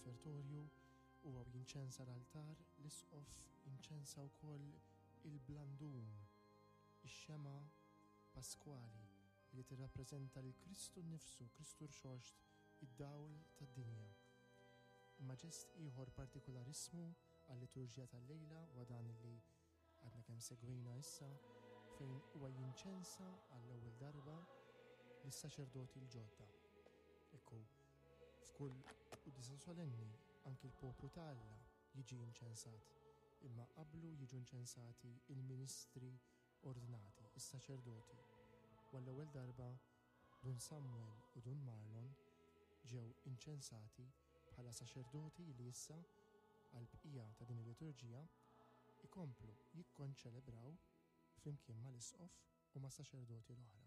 l-offertorju, huwa u jinċensa l-altar, l-Isqof inċensa wkoll il-blandun, ix-xemgħa paskwali li tirrappreżenta lil Kristu nnifsu, Kristu Rxoxt, id-dawl tad-dinja. Imma ġest ieħor partikularissmu għal-liturġija tal-lejla huwa dan li Għadna kemm segwejna issa fejn huwa jinċensa għall-ewwel darba lis-saċerdoti l-ġodda. Ekku, f'kull quddiesa solenni anki l-poplu ta' Alla jiġi inċensat, imma qablu jiġu inċensati il-ministri ordnati, is-saċerdoti. U għall-ewwel darba Dun Samuel u Dun Marlon ġew inċensati bħala saċerdoti li issa, għall-bqija ta' din il-liturġija, ikomplu jikkonċelebraw flimkien mal-Isqof u mas-saċerdoti l-oħra.